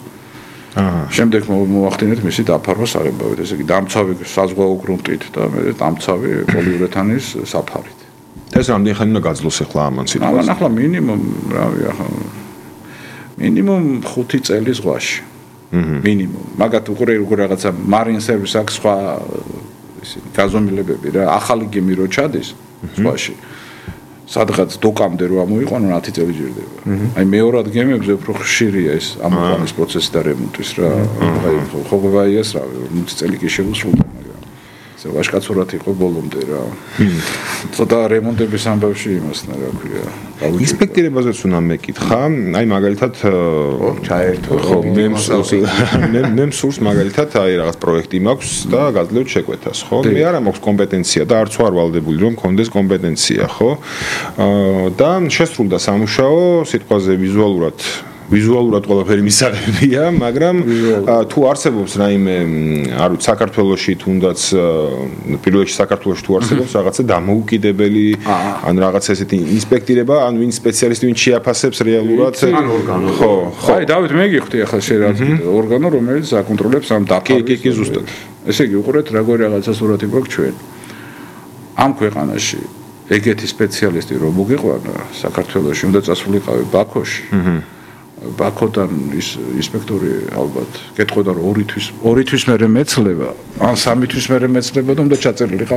შემდეგ მოახდინეთ მისი დაფარვა საღებავით ესე იგი დამცავი საზღვაო გრუნტით და მე დამცავი პოლიურეთანის საფარით ეს რამდენი ხანი უნდა გაძლოს ახლა ამან სიტყვაზე ამან ახლა მინიმუმ რავი ახლა მინიმუმ 5 წელი ზღვაში მინიმუმ მაგათ უყურე როგორ რაღაცა მარინ სერვის აქვს სხვა ისინი გაზომილებები რა ახალი გემი რო ჩადის ზღვაში სადღაც დოკამდე რო ამოიყვანო 10 წელი ჯერდება აი მეორად გემებზე უფრო ხშირია ეს ამოყვანის პროცესი და რემონტის რა აი ხოღებაიას რა 50 წელი კი შეუსრულდა ვაშკაცურად იყო ბოლომდე რა. ცოტა რემონტების ამბავში იმასნა რა ქვია. ინსპექტირებაზეც უნდა მეკითხა. აი მაგალითად ჩაერთო. ხო, მე მსურს მაგალითად აი რაღაც პროექტი მაქვს და გაძლევთ შეკვეთას, ხო? მე არა მაქვს კომპეტენცია და არც ვარ ვალდებული რომ მქონდეს კომპეტენცია, ხო? და შესრულდა სამუშაო, სიტყვაზე ვიზუალურად ყველაფერი მისაღებია, მაგრამ თუ არსებობს რაიმე, არ ვიცი, საქართველოში თუნდაც პირველ რიგში საქართველოში თუ არსებობს რაღაცა დამოუკიდებელი, ან რაღაცა ესეთი ინსპექტირება, ან ვინ სპეციალისტი ვინ შეაფასებს რეალურად ორგანო. ხო. აი, დავით, მე გიხდი ახლა შეიძლება ორგანო, რომელიც აკონტროლებს ამ დაფარვის. კი, ზუსტად. ესე იგი, უყურეთ, როგორი რაღაცა სურათი გვაქვს ჩვენ. ამ ქვეყანაში ეგეთი სპეციალისტი რომ მოგიყვანა საქართველოში, უნდა წასულიყავი ბაქოში. ბაქოდან ის ინსპექტორი ალბათ გეტყოდა რომ 2 თვის მერე მეცლება ან 3 თვის მერე მეცლება და უნდა ჩაწერილიყავ